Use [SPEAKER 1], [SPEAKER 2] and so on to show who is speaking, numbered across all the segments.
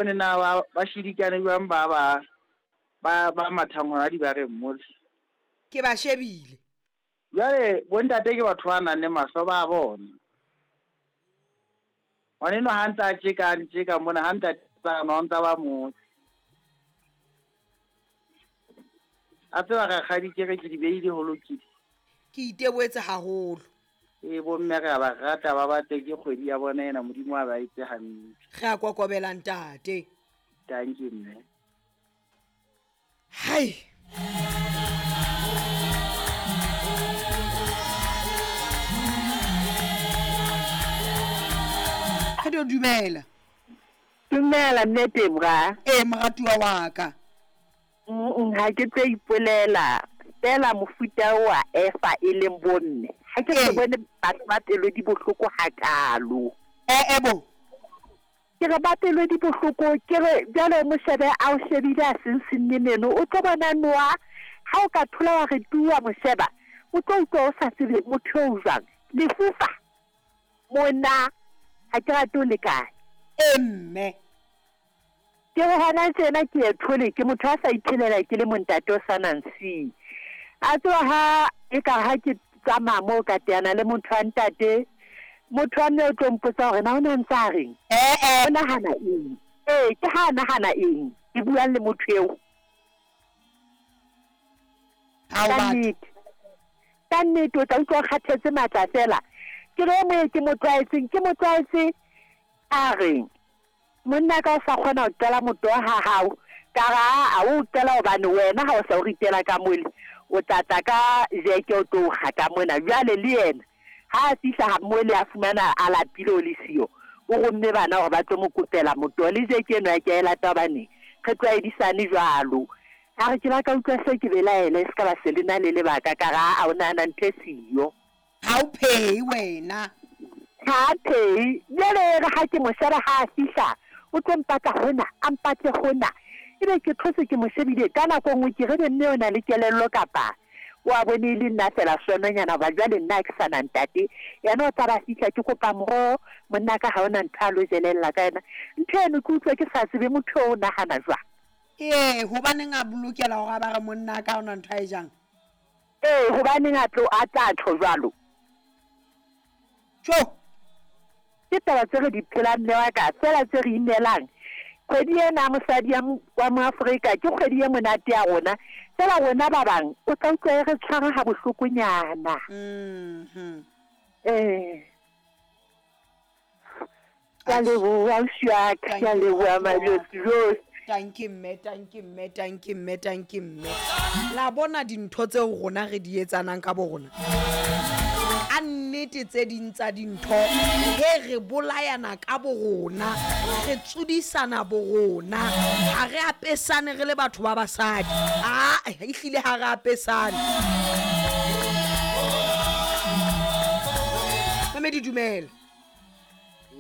[SPEAKER 1] Bone na ba ba shidikane jwang ba ba ba ba mathang hona dibareng mole.
[SPEAKER 2] Ke ba shebile.
[SPEAKER 1] Jwale bontate ke batho ba nang le mahlo ba a bona. Ngwanenwa ha ntse a tjeka a ntjeka mona ha ntate tsamaya o ntsa ba motse. A tseba rakgadi ke re ke di beile ho lokile.
[SPEAKER 2] Ke iteboetse haholo.
[SPEAKER 1] Ee bomme re a ba rata ba batle ke kgwedi ya bona ena Modimo a ba etse hantle.
[SPEAKER 2] Re a kokobela ntate.
[SPEAKER 1] Dankie mme.
[SPEAKER 2] Hai. Re dio dumela.
[SPEAKER 3] Dumela mme Tebra.
[SPEAKER 2] Ee moratuwa wa ka.
[SPEAKER 3] Ha ke tlo ipolela feela mofuta oa Efa e leng bomme. Ha ke so bone batho ba pelo di bohloko hakaalo.
[SPEAKER 2] Ee bo.
[SPEAKER 3] Ke re ba pelo di bohloko, ke re jwale o mo shebe a o shebile a sinsinne meno, o tlo bona noa ha o ka thola wa re tu wa mo sheba, o tlo utlwa o sa tsebe motho eo jwang. Lefufa mona ha ke rate o le kae.
[SPEAKER 2] Ee mme.
[SPEAKER 3] Ke re hona tjena ke ye thole ke motho a sa iphelela ke le montate o sa nang see. A tseba ha e ka ha ke tsamaya moo ka teana le motho wa ntate, motho wa mme o tlo mpotsa hore na o ne a ntse a reng?
[SPEAKER 2] Ee.
[SPEAKER 3] O nahana eng? Ee, ke ha a nahana eng? Ke buang le motho eo.
[SPEAKER 2] Ha o
[SPEAKER 3] Ka
[SPEAKER 2] batho.
[SPEAKER 3] nnete. Ka nnete o tla utlwa o kgathetse matla feela. Ke re o moye ke mo tlwaetseng, ke mo tlwaetse a reng? Monna ka o sa kgona ho qela motoho ha hao, ka re aa o o qela hobane wena ha o sa o ritela ka mole, o tla tla ka jeke o tlo o kga ka mona. Jwale le yena ha a fihla ha mole a fumana a lapile o le siyo, o romme bana hore ba tlo mo kopela motoho. Le jeke eno ya ke a e lata hobane re tlwaedisane jwalo. A re ke la ka utlwa se ke belaela e se ka ba se le na le lebaka, ka re aa o nahana ntho e siyo.
[SPEAKER 2] Ha o phehe wena.
[SPEAKER 3] Ha a phehe. Jwale e re ha ke mo sheba ha a fihla, o tlo mpatla hona, a mpatle hona. Ebe ke thotse ke mo shebile. Ka nako e nngwe ke re ebe mme o na le kelello kapa o a bone e le nna feela swenonyana hoba jwale nna ha ke sa na ntate. Yena o tla ba fihla ke kopa moroho, monna ka ha hona ntho a lo jelella ka yona. Ntho eno ke utlwa ke sa tsebe motho eo o nahana jwang.
[SPEAKER 2] Ee, hobaneng a lokela hore a ba re monna ka ha hona ntho a e jang?
[SPEAKER 3] Ee, hobaneng a tlo, a tla tjho jwalo?
[SPEAKER 2] Tjo!
[SPEAKER 3] Ke taba tse re di phelang mme wa ka, feela tse re imelang. Kgwedi ena ya mosadi ya, wa Moafrika ke kgwedi e monate ya rona, feela rona ba bang o tla utlwa e re tshwara ha bohlokonyana.
[SPEAKER 2] Mm-hmm.
[SPEAKER 3] Ee. Ke a leboha ausi wa ka, ke a leboha majotsi josi.
[SPEAKER 2] Tanki mme, tanki mme, tanki mme, tanki mme. La bona dintho tseo rona re di etsanang ka bo rona. A nnete tse ding tsa dintho he re bolayana ka bo rona, re tsodisana bo rona, ha re apesane re le batho ba basadi. A ehlile ha re apesane. Mamedi dumela.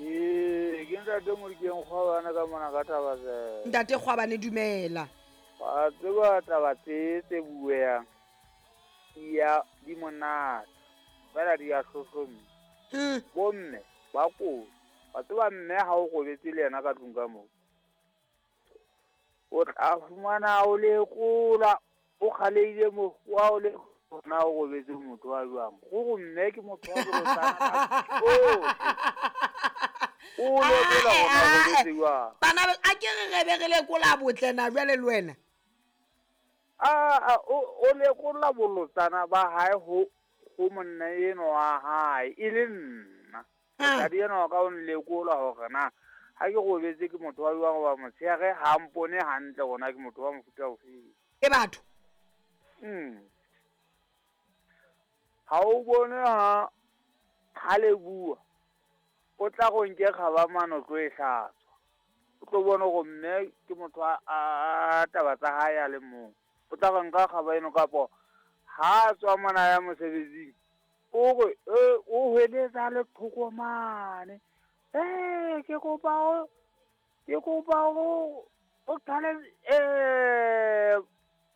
[SPEAKER 1] Ee, ke ntate Modikeng Kgwabane ka mona ka Thabazela.
[SPEAKER 2] Ntate Kgwabane dumela.
[SPEAKER 1] Wa tseba taba tse tse bueang di ya di monate fela di ya hlohlomisa. Bomme ba kotsi. Wa tseba mme ha o robetse le yena ka tlung ka moo. O tla fumana o lekola o kgalehile mo wa o le na o robetse motho wa jwang gore mme ke motho wa bolotsana o lekola gore o robetse jwang.
[SPEAKER 2] Bana a ke re re be re lekola botle na jwale le wena.
[SPEAKER 1] A o lekola bolotsana ba hae ho ho monna eno wa hae e le nna. Mosadi enwa wa ka o nlekola hore na ha ke robetse ke motho wa jwang hoba motshehare ha mpone hantle hore na ke motho wa mofuta ofeng.
[SPEAKER 2] E batho.
[SPEAKER 1] Ha o bone ha ha le bua o tla go nke kgaba mano tlo e hlatswa. O tlo bone hore mme ke motho a taba tsa hae a le mong. O tla re nka kgaba eno kapo ha tswa mona ya mosebetsing o re o hweletsa le thoko mane. Ke kopa o ke kopa o o qale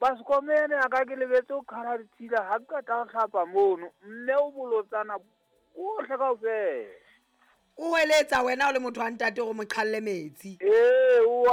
[SPEAKER 1] basekomene a ka ke lebetse o qhala ditshila ha ke qeta ho hlapa mono mme o bolotsana bohle kaofela.
[SPEAKER 2] O hweletsa wena o le motho wa ntate gore mo qhalle metsi.
[SPEAKER 1] Ee, o a